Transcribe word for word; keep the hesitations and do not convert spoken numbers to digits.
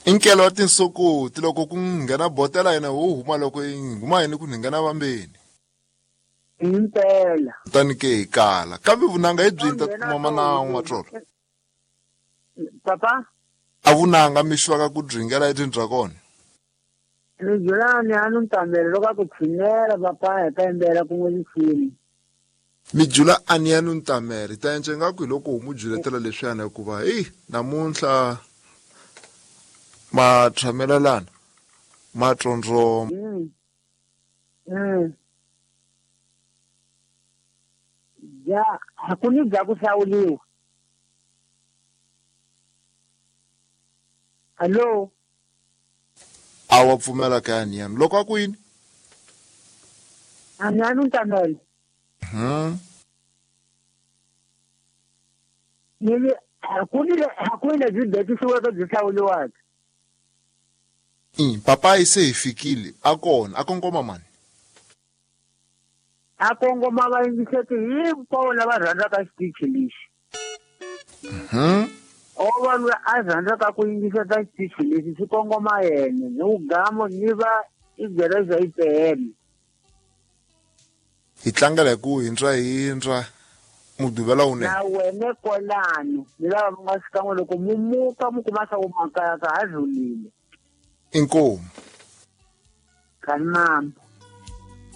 Inkelo wa tinsokoti loko ku nghena botela yena wo huma loko yi huma yini ku nghena vambeni. Impela. Kutani ke hi kala. Kambe vunanga hi byi ta kuma mana Matsolo. Papa? A vunanga mi xwaka ku dringela etindra kona. Ni julani a nu ntamele loko a ku tshinela papa hi ta yimbela kun'we risimu. Mi jula a ni ya nu ntamele ta endla ingaku hi loko mu juletela leswiyana hikuva heyi namuntlha ma tshamelelana ma tsondzoma. Mm. Mm. Ya, ku ni bya ku hlawuliwa. Hello? A wa pfumela ka yani yani loko a ku yini? A ni ya nu ntamele. Hmm. Ni ku ni ku ni lebyi betisiweke byi hlawuliwaka. I papa se hi fikile a kona a kongoma mani. A kongoma va yingiseti hinkwavo lava rhandzaka xitichi lexi. Mhm. O va loyi a rhandzaka ku yingiseta xitichi lexi xi kongoma yena ni ugamo ni va i gereza yi pele. Hi tlangela hi ku hindra hindra muduvela wunene. Na wena kwalano ni lava mi nga xikan'we loko mu muka mu kuma swa ku makaya ka ha rhulile. Inkomu. Kanimama.